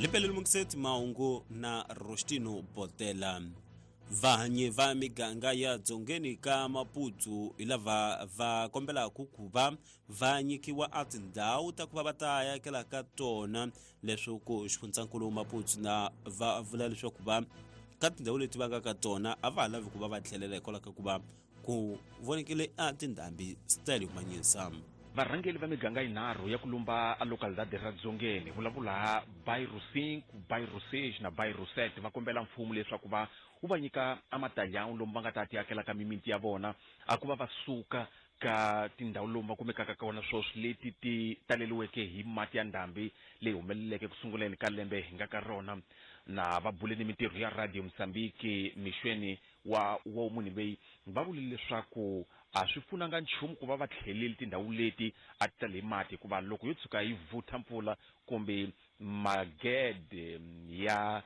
Lipeleli Mukiseti mahungu na Rostino Botela. Vahanyi va miganga ya dzongeni ka Maputsu hi lava va kombelaka ku va va nyikiwa a tindhawu ta ku va va ta yakela ka tona leswaku xifundzankulu Maputsu na va vula leswaku va ka tindhawu leti va nga ka tona a va ha lavi ku va va tlhelela hikwalaho ka ku va ku vonekile a tindhambi style manyisa. Varhangeli va miganga yinharhu ya ku lumba a localidade ra Dzongeni, vulavula Bairro 5, Bairro 6 na Bairro 7, va kombela mfumo leswaku va wu va nyika a matalhão lomu va nga ta tiakelaka mimiti ya vona a ku va va suka ka tindhawu lomu va kumekaka kona swoswi leti ti taleliweke hi mati ya ndhambi leyi humeleleke ku sunguleni ka lembe hi nga ka rona. Na va bule ni mintirho ya Radio Mozambique mixweni wa wa munhu loyi va vule leswaku a swi pfunanga nchumu ku va va tlheleli tindhawu leti a ti tale hi mati hikuva loko yo tshuka yi vutha mpfula kumbe magede ya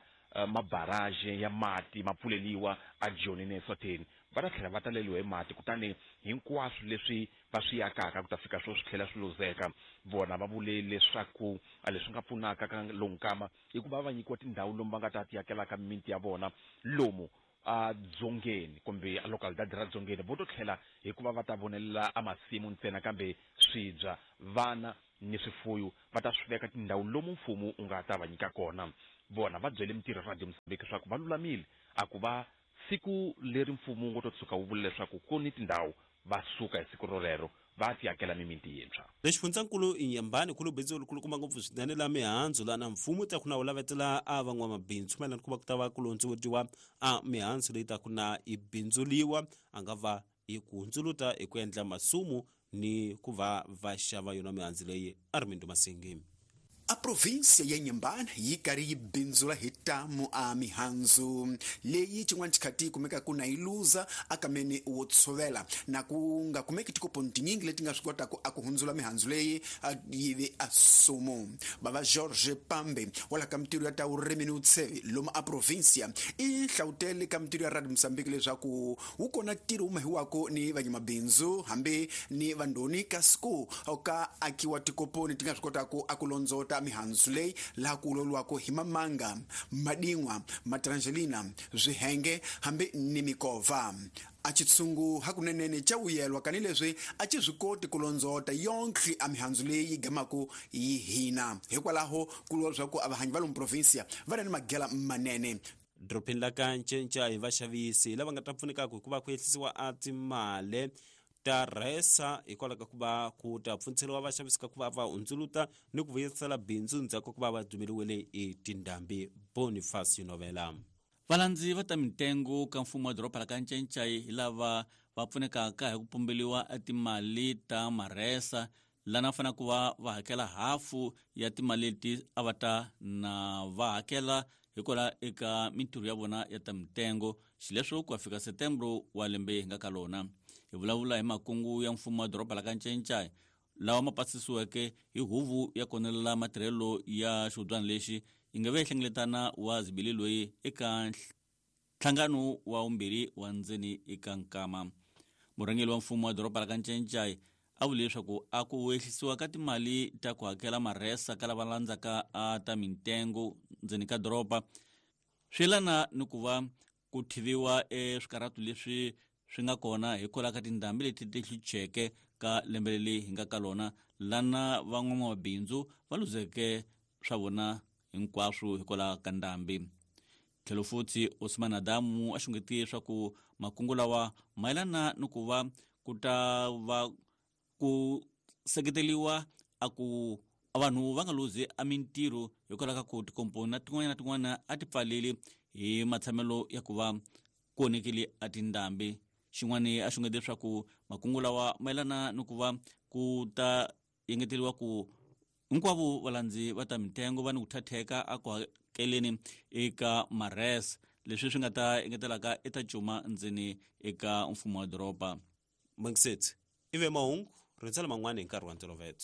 mabarage ya mati ma pfuleliwa eJoni ne Eswatini va ta tlhela va taleliwa hi mati kutani hinkwaswo leswi va swi akaka ku ta fika swo swi tlhela swi luzeka. Vona va vule leswaku a leswi nga pfunaka ka lowu nkama i ku va va nyikiwa tindhawu lomu va nga ta tiakelaka mimiti ya vona lomu a dzongeni kumbe a localidade ra dzongeni vo to tlhela hikuva va ta vonelela a masimu ntsena kambe swibya vana ni swifuyu va ta swi veka tindhawu lomu mfumo wu nga ta va nyika kona. Vona va byele mintirho ya Radio Mozambique leswaku va lulamile a ku va siku leri mfumo wu ngo to tshuka wu vula leswaku ku ni tindhawu va suka hi siku rolero va tiakela mimiti yintshwa. Le xifundzankulu Inhambane ku bindzu lerikulukumba ngopfu swinene la mihandzu lana mfumo ta ku na wu lavetela a van'wamabindzu mayelana ku va ku ta va ku londzovutiwa a mihandzu leyi ta ku na yi bindzuliwa a nga va yi ku hundzuluta hi ku endla masumu ni ku va va xava yona mihandzu leyi Armindo Masingi. A província ya Inhambane yi karhi yi bindzula hi tamu a mihandzu leyi xin'wana xikhati yi kumekaka na yi luza akameni wo tshovela na ku nga kumeki tikoponi tinyingi leti nga swi kotaka a ku hundzula mihandzu leyi yi ve a sumu. Bava Jorge Pambe wa la ka mintirho ya ta vurimi ni vutshevi lomu a província i hlavutele ka mintirho ya Radio Mozambique leswaku wu kona ntirho wu mahiwaka ni vanyamabindzu hambi ni vandhoni kasi ku ka akiwa tikoponi ti nga swi kotaka a ku londzota mihandzu leyi laha ku vulavuriwaka hi mamanga, madin'wa, matrangelina, swihenge hambi ni mikovha. A xitshungu hakunenene xa vuyelwa kanileswi a xi swi koti ku londzota yonkhe a mihandzu leyi yi gamaka yi hina. Hikwalaho ku vuriwa leswaku a vahanyi va lomu província va na ni magela manene. Dorobeni la ka Ncenca hi vaxavisi lava nga ta pfunekaka hi ku va ku ehlisiwa a timale ta rhesa hikwalaho ka ku va ku ta pfuniseriwa vaxavisi ka ku va va hundzuluta ni ku vuyisela bindzu ndzhaku ka ku va va dumeliwele hi tindhambi. Boniface Novela. Valandzi va ta mintengo ka mfumo wa doroba la ka Ncencai hi lava va pfunekaka hi ku pumbeliwa timali ta marhesa lana va fanele ku va va hakela hafu ya timali leti a va ta na va hakela hikwalaho eka mintirho ya vona ya ta mitengo xileswo ku ya fika setembro wa lembe hi nga ka lona. Hi vulavula hi makungu ya mfumo wa doroba la ka Ncencai lawa ma pasisiweke hi huvo ya konelela matirhelo ya xihubyana lexi yi nga ve hlengeletana wa zibili loyi eka nhlangano wa vumbirhi wa ndzeni eka nkama. Murhangeri wa mfumo wa doroba la ka Ncencai a vule leswaku a ku ehlisiwa ka timali ta ku hakela marhesa ka lava landzaka a ta mintengo ndzeni ka doroba swi yelana ni ku va ku thiviwa eswikarhatu leswi swi nga kona hikwalaho ka tindhambi leti ti hlucheke ka lembe leri hi nga ka lona lana van'wamabindzu va luzeke swa vona hinkwaswo hikwalaho ka ndhambi. Tlhelo futhi Osman Adamu a xungetiye leswaku makungu lawa mayelana ni ku va ku ta va ku seketeriwa a ku vanhu va nga luzi a mintirho hikwalaho ka ku tikomponi na tin'wana na tin'wana a ti pfaleli hi matshamelo ya ku va ku onhekile a tindhambi. Xin'wana a xungete leswaku makungu lawa mayelana ni ku va ku ta engeteriwa ku hinkwavo valandzi va ta mitengo va ni ku thatheka a ku hakeleni eka mares leswi swi nga ta engetelaka eta cuma ndzeni eka mfumo wa doroba. Mangisetsi ive mahungu rindzela man'wana hi nkarhi wa ntolovelo.